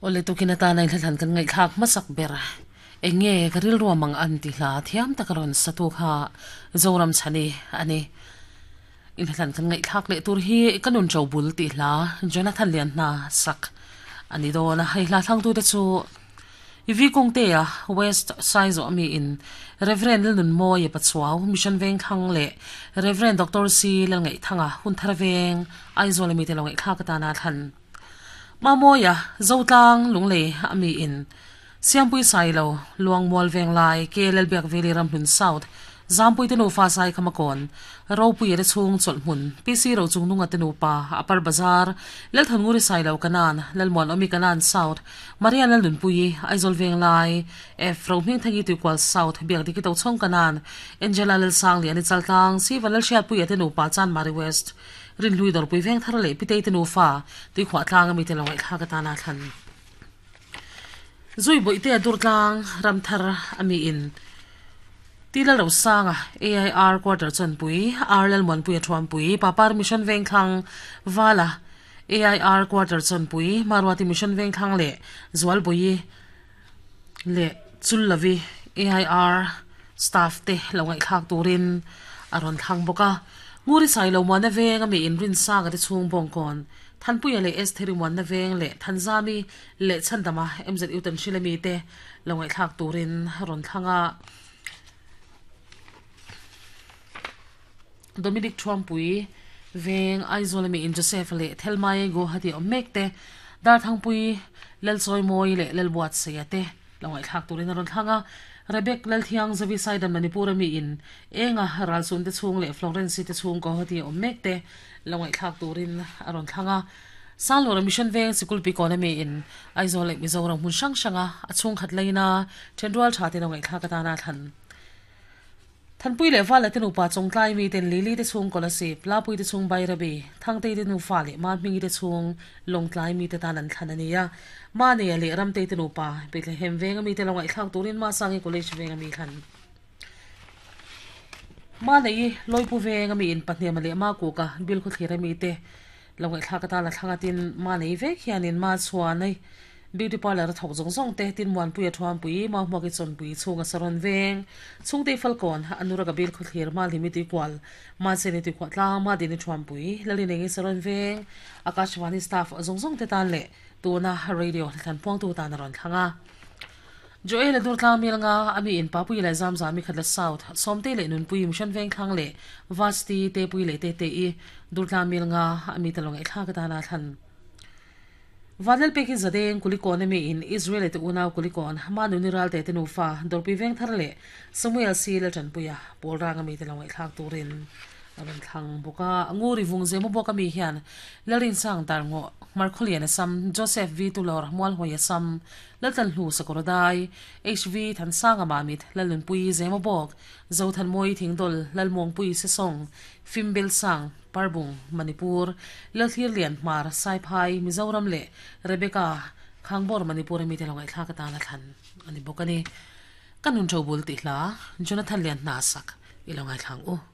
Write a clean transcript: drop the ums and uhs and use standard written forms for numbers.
Awle tukin atana i hla thlan kan ngaihthlak hmasak ber eng nge ka rilru mang an ti hla thiam taka rawn sa tu kha Zoram Chhani a ni. I hla thlan kan ngaihthlak leh tur hi ka nun ṭo bul tih hla Jonathan Lianhna sak a ni dawn a, hei hla thlangtute chu I Kawngtea West Saizawh ami in Rev. Lalnunmawia Pachuau Mission Vengthlang leh Rev. Doctor C. Lalngaihthanga Hunthar Veng Aizawl ami te lo ngaihthlak atana thlan Mamawia Zotlang Lunglei ami in Siampui Sailo Luangmual Venglai K. Lalbiakveli Ramhlun South Zampui te nufa Sai Khamakawn, Ropuia te chhung chawlhhmun, PC Rochungnunga te nupa, Upper Bazar, Lalthannguri Sailo Kanan, Lalmuanawmi Kanan South, Maria Lalnunpuii, Aizawl Venglai, F. Rohmingthangi Tuikual South, Biakdiki Tochhawng Kanan, Angela Lalsangliani Chaltlang, Siva Lalhriatpuia te nupa Chanmari West, Rinhlui Dawrpui Vengthar leh Pitei te nufa, Tuikhuahtlang ami te lo ngaihthlak atana thlan. Zui Bawihtea Durtlang Ramthar ami in Ti Lalrosanga AIR Quarter Chawnpui, R Lalmuanpuia Thuampui, Papar Mission Vengthlang Vala AIR Quarter Chawnpui, Maruati Mission Vengthlang leh Zualbawi leh Chullavi AIR Staff te lo ngaihthlak turin a rawn thlang bawk a. Nguri Sailo Muana Veng ami in Rinsanga te chhung Bawngkawn Thanpuia leh Estheri Muanna Veng leh Thanzami leh Chhandama MZU Tanhril ami te lo ngaihthlak turin rawn thlang a. Dominic Thuampui Veng Aizawl ami in Joseph leh Thelmai Guwahati awm mek te, Darthangpui Lalchawimawi leh Lalbuatsaia te lo ngaihthlak turin a rawn thlang a. Rebek Lalthiang Zavi Saidan Manipur ami in Enga Ralsun te chhung leh Florence te chhung Guwahati awm mek te lo ngaihthlak turin a rawn thlang a. Sanglura Mission Veng Sikul Pikawna mi in Aizawl leh Mizoram hmun hrang hranga a chhungkhat laina thenrual tha te lo ngaihthlak atana thlan Thanpui leh Vala te nupa Chawngtlai mi ten Lily te chhung Kolasib, Lapui te chhung Bairabi, Thangtei te nufa leh Mahmingi te chhung Lawngtlai mi te tan an thlan a ni a. Manea leh Ramtei te nupa Bethlehem Venga mi te lo ngaihthlak turin Masangi College Venga mi thlan Manei Lawipu Venga mi in Pahniama leh Makuka Bilkhawthlir a mi te Lo ngaihthlak atan a thlang a tin ma nei vek hianin ma chhuan a beauty parlour a thawk zawng zawng te tin Muanpui a Thuampui, Mauhmuak i Chawnpui chhung a Saron veng, Chhungtei Falkawn, Anura ka bil khawthlir ma Hlimi Tuikual, Ma Cheni Tuikhuah tlang, Ma Dini Thuampui, Lalinengi Saron veng, Akashvani staff zawng zawng te tan leh tuna radio hla thlan puangtu tan a rawn thlang a. Joel a dur tlang mil nga a mi in Papui leh Zamzami khat la South, Sawmtei leh Nunpui, Mission Vengthlang leh Vasti, Tepui leh Tete-i dur tlang mil nga a mi ta lo ngaihthlak atana thlan. Vanlalpek hi Zadeng, Kulikawn a mi in Israel te unau Kulikawn, Manuni Ralte te nufa, Dawrpui Vengthar leh Samuel C. Laltanpuia, Pawlrang a mi te lo ngaihthlak turin a rawn thlang bawk a. Nguri Vungzemu bawk a mi hian Lalrinsang Darngawh, Hmarkhawlian a sam, Joseph V. Tulawr, Mualhawi a sam, Laltlanhlu Sakawrdai, HV Thansanga Mamit, Lalnunpui Zemabawk, Zothanmawi Thingdawl, Lalmuangpui Sesawng, Fimbelsang, Parbung, Manipur, Lalthirlian Hmar, Saiphai, Mizoram leh Rebecca Khangbawr Manipur a mite lo ngaihthlak atana thlan a ni bawk a ni. Ka nun ṭo bul tih hla Jonathan Lianhna sak i lo ngaithla ang u.